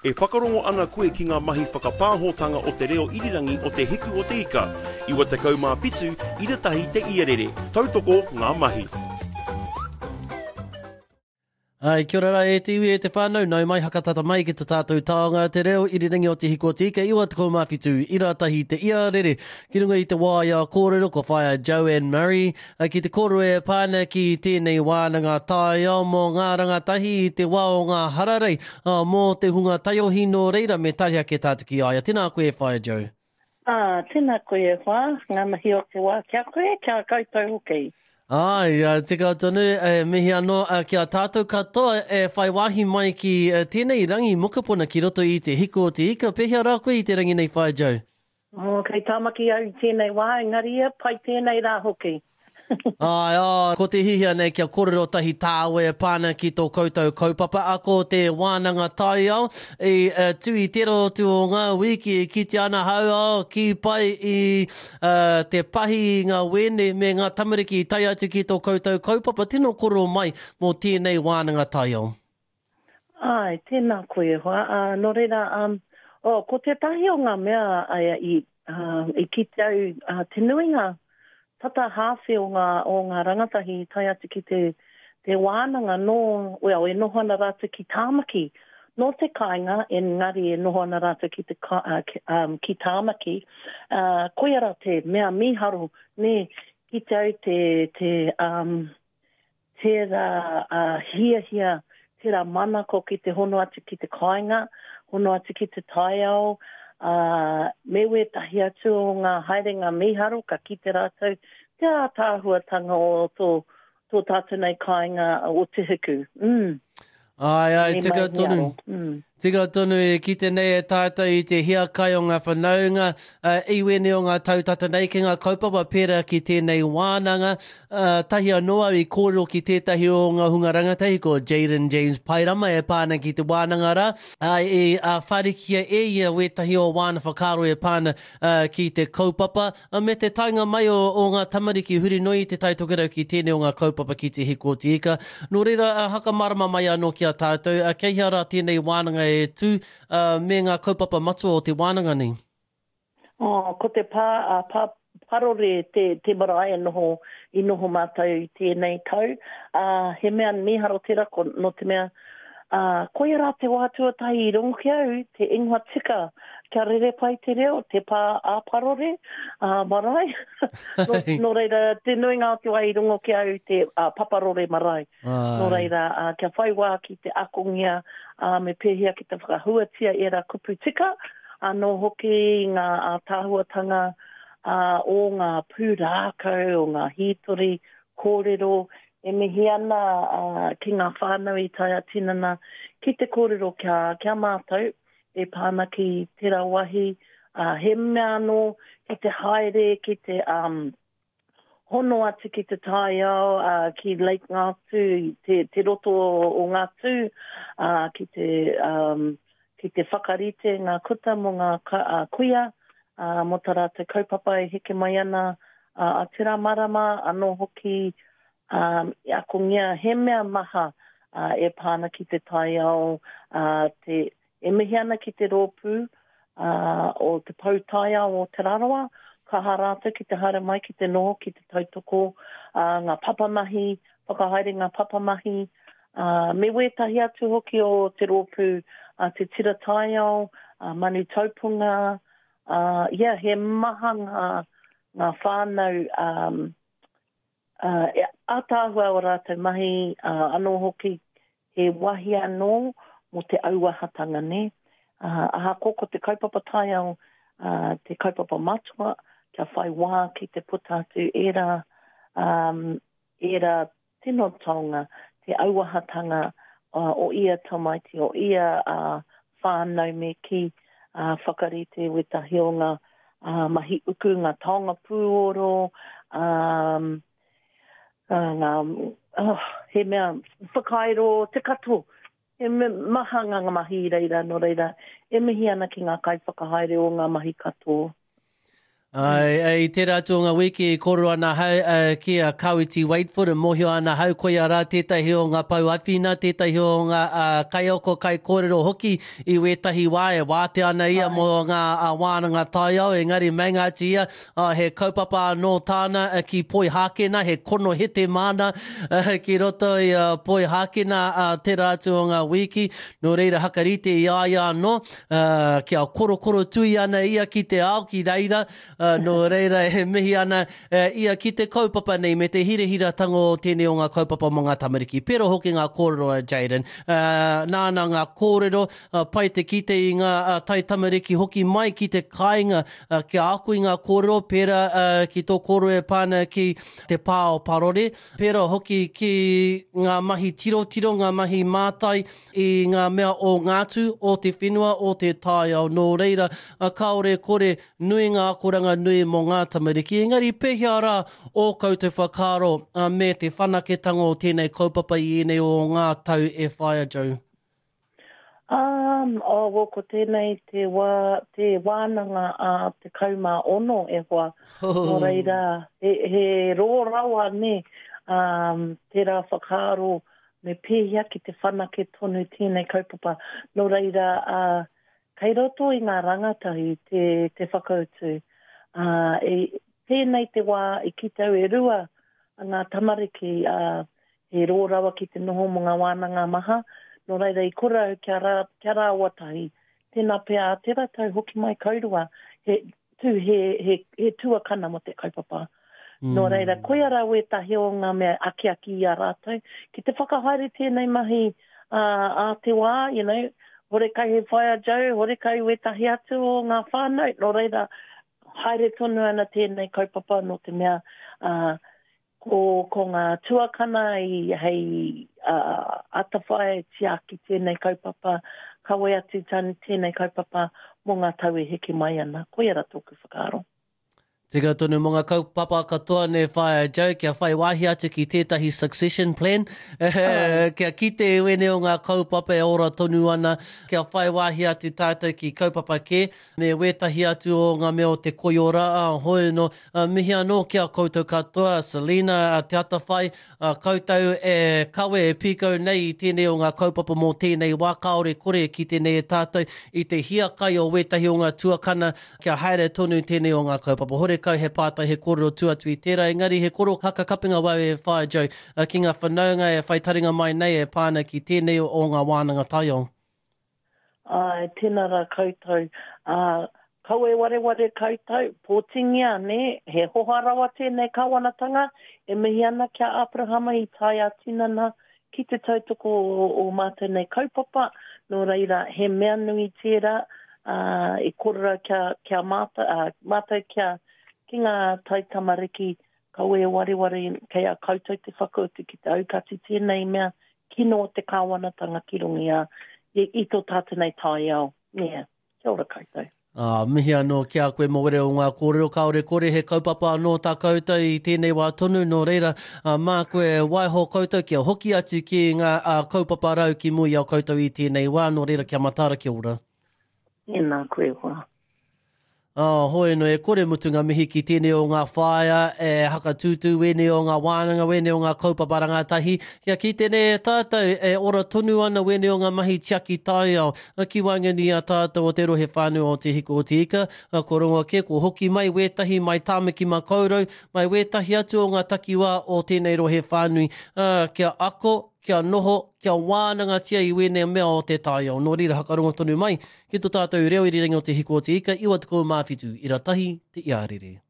E whakarongo ana koe ki ngā mahi whakapāhotanga o te reo irirangi o Te Hiku o Te Ika, 97 ira tahi te iarere. Tautoko ngā mahi. Ai, kia ora rā e te iwi e te whānau, nau mai hakatata mai ki to tātou taonga te reo irirangi o Te Hiku o Te Ika 97 ira tahi te iarere. Ki runga i te waea kōrero ko Whaea Joanne Murray ki te kōrero e pā ana ki tēnei wānanga taiao mō ngā rangatahi i te wā o ngā hararei, mō te hunga taiohi nō reira me tahi ake tātou ki a ia. Tēnā koe e Whaea Jo. Ā, tēnā koe e hoa, ngā mihi o te wā ki a koe, ki a koutou hoki. Āe, tika tonu, e mihi anō ki a tātou katoa e whai wāhi mai ki tēnei rangi mokopuna ki roto i te hiku o te ika. Pēhea rā koe i te rangi nei, Whaea Jo? Oh, kei Tāmaki au i tēnei wā, engari ia, pai tēnei rā hoki. Āe, ā, ko te hihia nei kia kōrero tahi tāua e pā ana ki tō koutou kaupapa ako, te wānanga taiao, i tū i tērā atu o ngā wiki e kitea ana hau, ā, kī pai i te pahi i ngā wēne me ngā tamariki i tae atu ki tō koutou kaupapa. Tino kōrero mai mō tēnei wānanga taiao. Āe, tēnā koe e hoa. Ā, nō reira, um, oh, ko tētahi o ngā mea a, i, uh, i kite au, uh, te nuinga, tata hāwhe o ngā, o ngā rangatahi i tae atu ki te, te wānanga nō, well, e noho ana rātou ki Tāmaki. Nō te kāinga, engari e noho ana rātou ki te, uh, ki, um, ki Tāmaki. Uh, koia rā te mea mīharo, nē, kite au te, te, um, tērā hiahia, tērā manako ki te hono atu ki te kāinga, hono atu ki te taiao, ā, me wētahi atu o ngā haerenga mīharo ka kite rātou te ātaahuatanga o tō, tō tātou nei kāinga o Te Hiku. Mm. Āe, āe, tika tonu. Mm. Tika tonu e kite nei e tātou i te hiakai o ngā whanaunga, uh, i wēnei o ngā tau tata nei ki ngā kaupapa pērā ki tēnei wānanga. Uh, tahi anō au i kōrero ki tētahi o ngā hunga rangatahi ko Jaden James Pairama e pā ana ki te wānanga rā. Uh, i uh, whārikia e ia wētahi o wāna whakaaro e pā ana uh, ki te kaupapa. Me te taenga mai o, o ngā tamariki huri noa i Te Tai Tokerau ki tēnei o ngā kaupapa ki Te Hiku o Te Ika. Nō reira, hakamārama mai anō ki a tātou, kei hea rā tēnei wānanga e tū, me ngā kaupapa matua o te wānanga nei? Oh, ko te pā, a, pā Parore te, te marae e noho, i noho mātou i tēnei tau. Ā, he mea mīharo tērā, ko, nō te mea, Ā, koia rā te wā tuatahi i rongo ki au te ingoa tika kia rere pai te reo, te pā ā-parore, ā-marae. Nō, nō reira, te nuinga o te wā i rongo ki au te ā, paparore marae. Nō reira, ā, kia whai wā ki te akongia, ā, me pēhea ki te whakahuatia ērā kupu tika, anō hoki ngā ātaahuatanga, ā, o ngā pūrākau, o ngā hītori, kōrero, E mihi ana ki ngā whānau i tae ā-tinana ki te kōrero ki a, ki a mātou e pā ana ki tērā wāhi. He mea anō ki te haere, ki te um, hono atu ki te taiao, uh, ki Lake Ngātū, te, te roto o Ngātū, uh, ki te, um, ki te whakarite ngā kuta mō ngā uh, kuia, uh, mō tā rātou kaupapa e heke mai ana ā, a tērā marama anō hoki, ā, i akongia he mea maha, ā, e pā ana ki te taiao, ā, te, e mihi ana ki te rōpū, ā, o te Pou Taiao o Te Rarawa, kaha rātou ki te haere mai ki te noho ki te tautoko, ā, ngā papamahi, whakahaere ngā papamahi, ā, me wētahi atu hoki o te rōpū, ā, te Tira Taiao, ā, Manu Taupunga, ā, yeah, he maha ngā, ngā whānau, um, ā, e ātaahua o rātou mahi, ā, anō hoki, he wāhi anō mō te auahatanga, nē? Ā, ahakoa ko te kaupapa taiao, ā, te kaupapa matua, kia whai wā ki te puta atu ērā, um, ērā tino taonga, te auahatanga o ia tamaiti, o ia whānau me kī, whakarite wētahi o ngā mahi uku, ngā taonga pūoro, ngā, oh, he mea whakairo te katoa. He maha ngā mahi i reira, nō reira, e mihi ana ki ngā kaiwhakahaere o ngā mahi katoa. Ai, i tērā atu o ngā wiki i kōrero ana ahau uh, ki a Kawiti Waitfoot, e mōhio ana ahau koia rā tētahi o ngā pou awhina, tētahi o ngā uh, kaiako kaikōrero hoki i wētahi wā e wātea ana ia mō ngā uh, wānanga taiao, engari meinga atu ia, uh, he kaupapa anō tāna uh, ki Poihākena, he konohete māna uh, ki roto i uh, Poihākena uh, tērā atu o ngā wiki, nō reira hakarite i a ia anō, ā, kia korokorotui ana ia ki te ao ki reira, ā, nō reira e mihi ana ia ki te kaupapa nei me te hirahiratanga o tēnei o ngā kaupapa mō ngā tamariki. Pērā hoki ngā kōrero a Jayden, ā, nāna ngā kōrero, ā, pai te kite i ngā taitamariki hoki mai ki te kāinga, ā, kia ako i ngā kōrero pērā, ā, ki tō kōrero e pā ana ki te pā o Parore, pērā hoki ki ngā mahi tirotiro, ngā mahi mātai, i ngā mea o ngā tū, o te whenua, o te taiao. Nō reira, kāore kore nui ngā akoranga nui mō ngā tamariki. Engari pēhea rā ō koutou whakaaro me te whanaketanga o tēnei kaupapa i ēnei o ngā tau e whaia, Jo? Um, oh, well, ko tēnei te wā, te wānanga a 16 e hoa. Nō reira, he, he rō rawa, nē, um, tērā whakaaro Me pēhea ki te whanake tonu tēnei kaupapa? Nō reira, ā, kei roto i ngā rangatahi te, te whakautu. Ā, e, tēnei te wā i kite au e rua ngā tamariki, ā, he rō rawa ki te noho mō ngā wānanga maha, nō reira i kore au kia rā, kia rāua tahi. Tēnā pea ā tērā tau hoki mai kaurua, he, tū he, he, he tuakana mō te kaupapa. Mm. Nō reira, koia rā wētahi o ngā mea akiaki i a rātou, ki te whakahaere tēnei mahi ā, ā te wā, you know, horekau he whaea Joe, horekau wētahi atu o ngā whānau, nō reira, haere tonu ana tēnei kaupapa nō te mea, ā, Ko, ko ngā tuakana i hei uh, atawhai, tiaki tēnei kaupapa, kawe atu tēnei kaupapa mō ngā tau e heke mai ana. Koia ra tōku whakaaro. Tika tonu mō ngā kaupapa katoa nei Whaea Jo, kia whai wāhi atu ki tētahi succession plan, kia kite i wēnei o ngā kaupapa e ora tonu ana, kia whai wāhi atu tātou ki kaupapa kē, me wētahi atu o ngā mea o te koiora, ā, hoi anō, Ā, mihi anō ki a koutou katoa, Selina, a Te Atawhai, ā, koutou e kawe, e pīkau nei i tēnei o ngā kaupapa mō tēnei wā, kāore kore e kite nei e tātou i te hiakai o wētahi o ngā tuakana kia haere tonu tēnei o ngā kaupapa. Horekau he pātai, he kōrero tua atu i tērā, engari he koro haka kapinga wau e whai, Joe, ki ngā whanaunga e whai taringa mai nei e pā ana ki tēnei o ngā wānanga taiao. Āe, tēnā rā koutou. Ā, kaua e wareware koutou, pōtingia, nē, he hoha rawa tēnei kāwanatanga, e mihi ana ki a Aperahama i tae ā-tinana ki te tautoko o ō mātou nei kaupapa, nō reira, he mea nui tērā, ā, i kōrero kia, kia mātou, ā, mātou kia, ki ngā taitamariki, kaua e wareware kei a koutou te whakautu ki te aukati tēnei mea, kino o te kāwanatanga ki runga i a, i, i tō tātou nei taiao. Yeah. Kia ora koutou. Ā, mihi anō ki a koe mō were o ngā kōrero, kāore kore he kaupapa anō tā koutou i tēnei wā tonu, nō reira, ā, mā koe e waiho koutou kia hoki atu ki ngā ā, kaupapa rau ki mua i a koutou i tēnei wā, nō reira kia mataara, kia ora. Tēnā koe hoa. Ā, hoi anō, e kore mutu ngā mihi ki tēnei o ngā whāea e hakatūtū wēnei o ngā wānanga, wēnei o ngā kaupapa rangatahi, kia kite nei e tātou e ora tonu ana wēnei o ngā mahi tiaki taiao ki waenganui i a tātou o te rohe whānui o Te Hiku o Te Ika, kua rongo kē, kua hoki mai wētahi mai Tāmaki Makaurau, mai wētahi atu o ngā takiwā o tēnei rohe whānui, ā, kia ako, kia noho, kia wānangatia i wēnei mea o te taiao. Nō reira, hakarongo tonu mai ki to tātou reo irirangi o Te Hiku o Te Ika, 97 ira tahi te iarere.